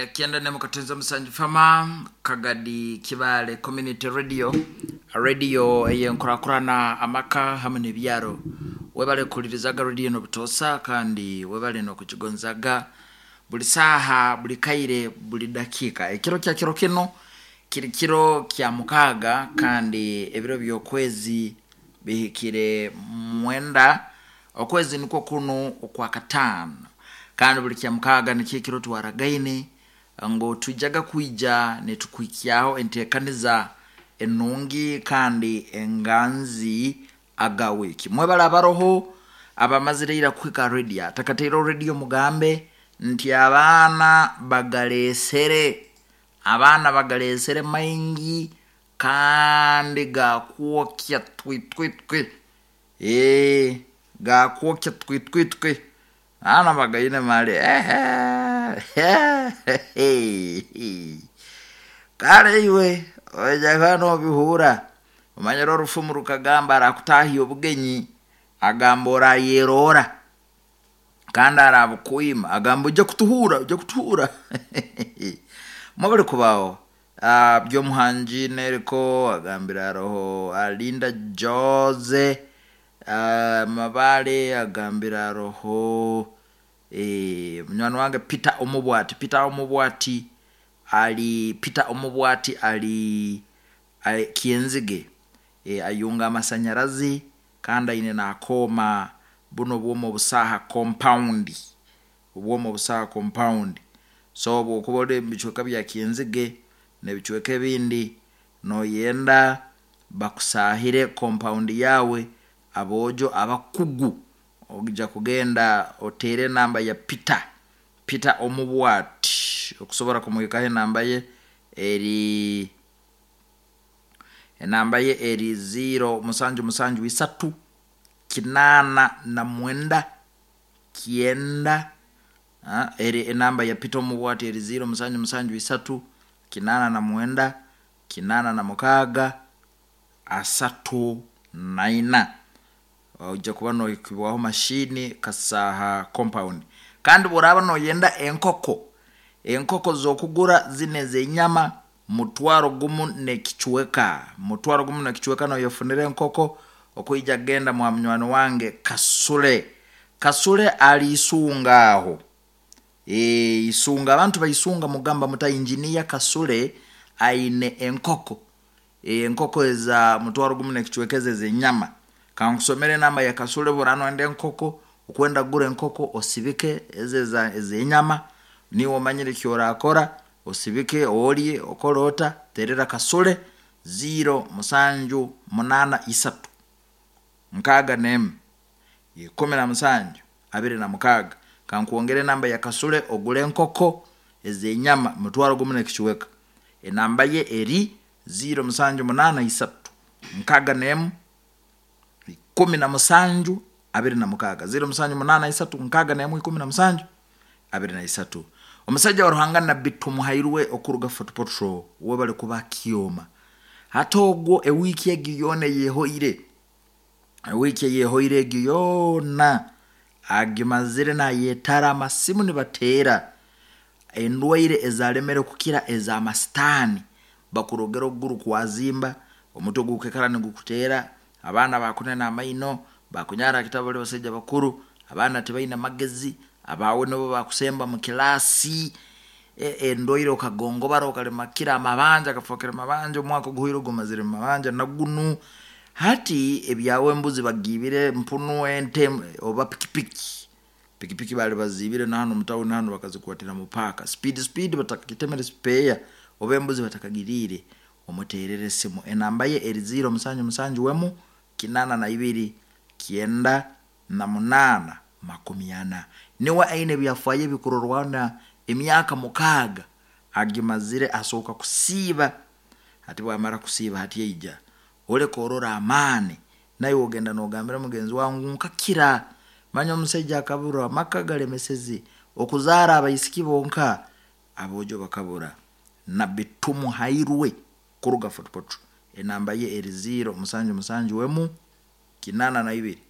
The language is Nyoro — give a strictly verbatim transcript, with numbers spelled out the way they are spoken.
Eya kyenda nemu katenza musanju Fama Kagadi Kibale Community Radio, radio eyenkurakurana amaka hamwe n'ebyaro. Webale kuhulirizaga radio n'obutosa, kandi webale n'okukigonzaga buli saaha, buli kaire, buli dakiika. Ekiro kya kiro kino kiri kiro kya mukaaga, kandi ebiro by'okwezi bihikire mwenda, okwezi nikwo kunu okwa kataano. Kandi buli kya mukaaga nikyo ekiro twaragaine ngu twijaga kwija nitukuhikyaho enteekaniza enungi kandi enganzi aga wiiki. Mwebale abaroho abamazire ira kuhika radio, atakataireho radio mugambe nti abaana bagaleesere, abaana bagaleesere maingi kandi gakwokya twitwitwi, ee gakwokya twitwitwi, abaana bagaine mali. Kale iwe ojaga nobihura, omanyire orufumu rukagamba arakutahya obugenyi agamba orayerora, kandi arabukwima agamba ojja kutuhura, ojja kutuhura. Mwebale kubaho uh, Byomuhangi Neriko agambira aroho Alinda Jose uh, Mabale agambira aroho e, munywani wange Peter Omubwati. Peter Omubwati ali, Peter Omubwati ali, ali Kienzige, e, ayunga amasanyarazi kandi aine nakooma buno bwoma obusaha compound, obwoma obusaha compound. So bwokuba ori omu bicweka bya Kienzige n'ebicweka ebindi noyenda bakusahire compound yawe, aboojo abakugu, ojja kugenda oteere enamba ya Peter, Peter Omubwati, okusobora kumuhikaho. Enamba ye eri, enamba ye eri zero musanju musanju isatu kinaana na mwenda kyenda. Ha, eri enamba ya Peter Omubwati eri zero musanju musanju isatu kinaana na mwenda kinaana na mukaaga asatu naina. Ojja kuba nohikibwaho mashini Kasaha compound. Kandi bworaba noyenda enkoko, enkoko z'okugura zino ez'enyama, mutwaro gumu n'ekicweka, mutwaro gumu n'ekicweka noyefunira enkoko. Okwija genda mwa munywani wange Kasule. Kasule ali Isunga aho, e, Isunga, abantu baisunga mugamba muta injiniya Kasule aine enkoko, e, enkoko eza mutwaro gumu n'ekicweka ezo ez'enyama. Kankusomere enamba ya Kasule. Bworaba noyenda enkoko, okwenda kugura enkoko osibike ezo ez'enyama, niwe omanyire ekyorakora, osibike olye okole ota, terera Kasule zero musanju munaana isatu nkaaga n'emu ikumi na musanju abiri na mukaaga. Kankwongere enamba ya Kasule ogule enkoko ez'enyama mutwaro gumu n'ekicweka. Enamba ye eri zero musanju munaana isatu nkaaga n'emu ikumi na musanju abiri na mukaaga, zero musanju munaana isatu nkaaga n'emu ikumi na musanju abiri na isatu. Omusajja wa Ruhanga Nabbi Tumuhairwe okuruga Fort Portal, webale kuba kyoma. Hati ogwo ewiiki egi yoona eyehoire, ewiiki eyehoire egi yoona agimazire nayetara amasimu nibateera endwaire ezalemere kukira ez'amasitaani, bakurogera okuguru kwazimba, omutwe gukekara nigukuteera, abaana bakunena amaino, bakunyara kitabo bali basaija bakuru, abaana tibaine magezi, abawe nibo bakusemba mu kilaasi, endwaire okagongobara okalema kira amabanja gafokere mabanja, omwaka oguhoire gumazire mu mabanja nagunu. Hati ebyawe embuzi bagiibire, mpunu, ente oba pikipiki, pikipiki bali baziibire na hanu mutawuni hanu bakazikwatira mu paaka speed speed batakagitemere spare, oba embuzi batakagiriire, omuteerere esimu. Enamba ye eri zero musanju musanju wemu kinaana na ibiri kyenda na munaana makumi ana. Niwe aine ebyafaayo ebikurorwana, emyaka mukaaga agimazire asooka kusiiba. Hati bwamara kusiiba, hati aija oleka orora amaani, naiwe ogenda nogambira mugenzi wawe ngu nkakira. Manya omusaija akabura, amaka galemeseze okuzaara abaisiki bonka, aboojo bakabura. Nabbi Tumuhairwe kuruga Fort Portal, enamba ye eri zero musanju musanju wemu kinaana na ibiri.